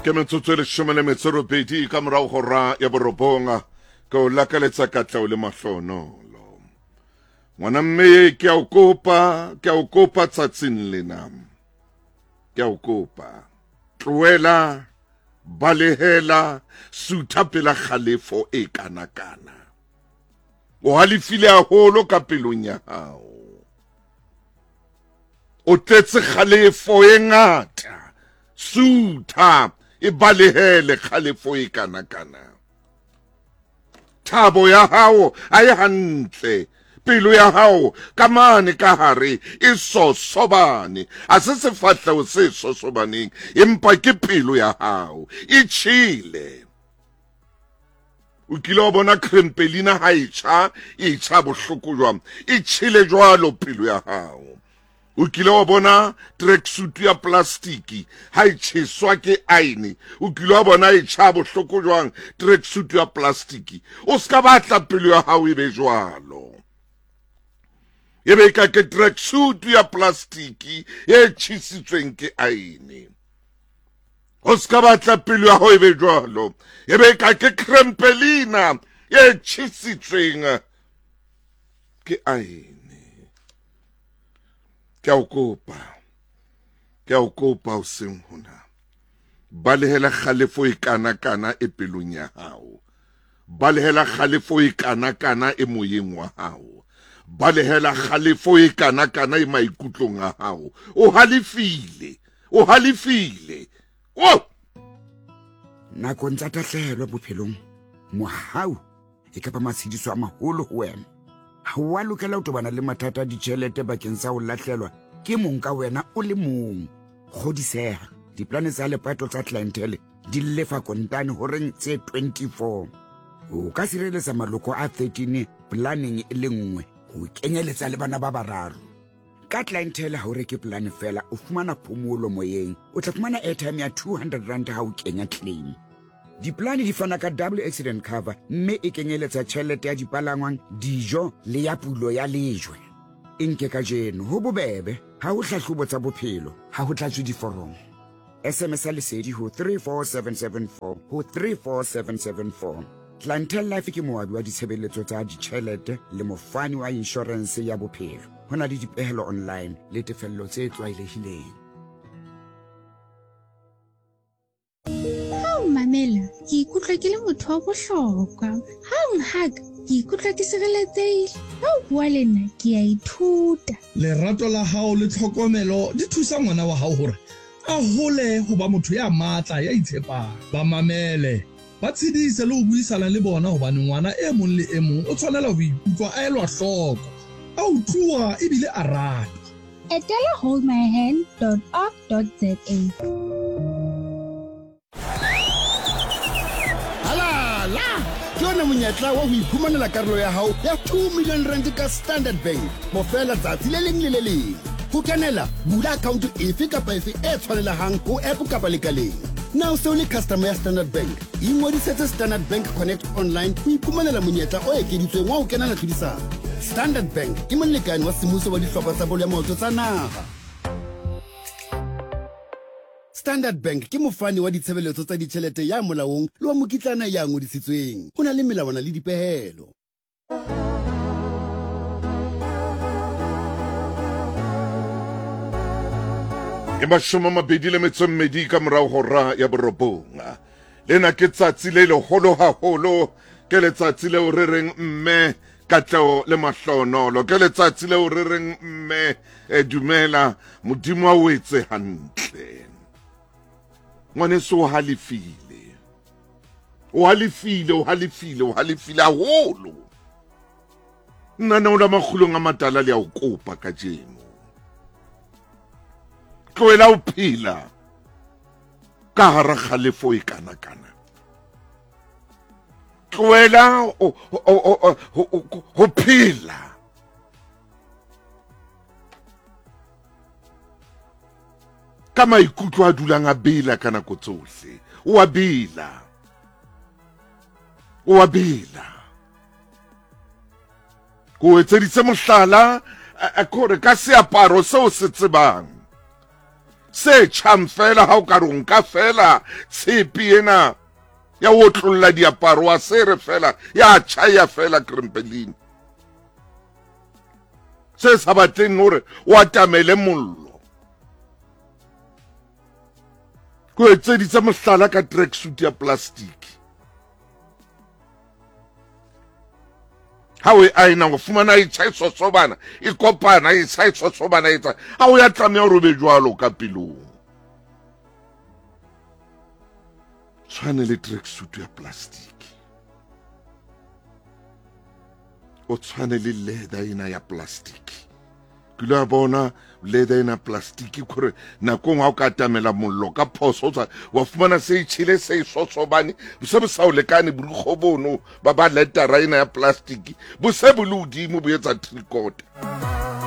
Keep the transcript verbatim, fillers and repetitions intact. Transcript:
Ke metsotso e leshome le metso e robedi ka morao hora ya borobong, ke o lakaletsa katleho le mahlonolo. Ngwana mme, ke a o kopa, ke a o kopa tsatsing lena. Ke a o kopa. Tlohela, balehela, sutha pela kgalefo e kanakana. O halefile haholo ka pelong ya hao. O tletse kgalefo e ngata. Sutha, e balehele kgalefo e kanakana. Thabo ya hao ha e hantle. Pelo ya hao ka mane ka hare e sosobane. Ha se sefahleho se sosobaneng, empa ke pelo ya hao e tjhele. O kile wa bona krempelina ha e tjha, e tjha bohloko jwang? E tjhele jwalo pelo ya hao. O kile wa bona tracksuit ya plastiki ha e tjheswa ke aene? O kile wa bona e tjha bohloko jwang tracksuit ya plastiki? O ska batla pelo ya hao e be jwalo. E be ka ke tracksuit ya plastiki e tjhesitsweng ke aene. O ska batla pelo ya hao e be jwalo. E be ka ke krempelina e tjhesitsweng ke aene. Ke a o kopa, ke a o kopa hoseng hona. Balehela kgalefo e kanakana e pelong ya hao. Balehela kgalefo e kanakana e moyeng wa hao. Balehela kgalefo e kanakana e maikutlong a hao. O halefile, o halefile. Oh! Nakong tsa tahlehelo bophelong, mohau e kapa matshediso a maholo ho wena. Ha o a lokela ho tobana le mathata a ditjhelete bakeng sa ho lahlelwa ke mong ka wena o le mong. Kgodiseha, diplane tsa lepato tsa clientele di lefa kontane horeng tse twenty-four. O ka sireletsa maloko a thirteen planeng e le nngwe, ho kenyeletsa le bana ba bararo. Ka clientele ha o reke plane fela, o fumana phomolo moyeng. O tla fumana airtime ya two hundred rand ha o kenya claim. Diplane di fana ka double accident cover mme e kenyeletsa tjhelete ya dipalangwang, dijo le ya pulo ya lejwe. E nke kajeno ho bobebe, ha ho hlahlobo tsa bophelo, ha ho tlatswe diforomo. S M S ya lesedi ho three four seven seven four ho three four seven seven four. Clientele Life ke moabi wa ditshebeletso tsa ditjhelete le mofani wa inshorense ya bophelo. Ho na le dipehelo online le tefello tse tlwaelehileng. Ha o mamela, ke ikutlwa ke le motho wa bohlokwa. Ha o nhaka, ke ikutlwa ke sireletsehile. Ha o bua le nna, ke a ithuta. Lerato la hao le tlhokomelo di thusa ngwana wa hao hore a hole ho ba motho ya matla, ya itshepang. Ba mamele, ba tshedise le ho buisana le bona hobane ngwana e mong le e mong o tshwanela ho ikutlwa a elwa hloko, a utluwa ebile a ratwa. Etela hold my hand dot org dot za. Halala! Ke yona monyetla wa ho iphumanela karolo ya hao ya two million rand ka Standard Bank. Bofela tsatsi le leng le le leng. Ho kenela, bula account efe kapa efe e tshwanelehang ho app kapa lekaleng. Na o se o le customer ya Standard Bank? Ingodisetse Standard Bank Connect online ho iphumanela monyetla o ekeditsweng wa ho kenela tlhodisano. Standard Bank ke molekane wa semmuso wa dihlopha tsa bolo ya maoto tsa naha. Standard Bank ke mofani wa ditshebeletso tsa ditjhelete ya molaong le wa mokitlana ya ngodisitsweng. Ho na le melawana le dipehelo. Ke mashome a mabedi le metso e mmedi ka morao hora ya borobong. Lena ke tsatsi le leholo haholo, ke letsatsi leo re reng mme katleho le mahlonolo, ke letsatsi leo re reng mme e dumela Modimo a o etse hantle. Ngwaneso o halefile, o halefile, o halefile, o halefile haholo. Nna ne o la makgulong a matala le a o kopa kajeno. Tlohela ho phela ka hara kgalefo e kanakana. Tlohela ho phela ka maikutlo a dulang a bela ka nako tsohle. O a bela, o a bela. Ko etseditse mohlala, kore ka seaparo seo se tsebang. Se tjhang fela ha o ka re o nka fela tshepe ena ya ho otlolla diaparo wa se re fela ya tjha ya fela krempelini. Se sa batleng hore o atamele mollo. Ko etseditse mohlala ka tracksuit ya plastic. Ha o e aena o fumana e tjha e sosobana, e kopana e tjha e sosobana e tsa. Ha o ya tlameha hore o be jwalo ka pelong. Tshwane le tracksuit ya plastic. O tshwane le leather ena ya plastic. Ke ile wa bona leather ena plastic kore nakong ha o ka atamela mollo ka phoso o tswa wa fumana se e tjhele se e sosobane bo se bo sa o lekane borukgo bono ba ba leather ena ya plastic bo se bo le hodimo bo etsa three quarter.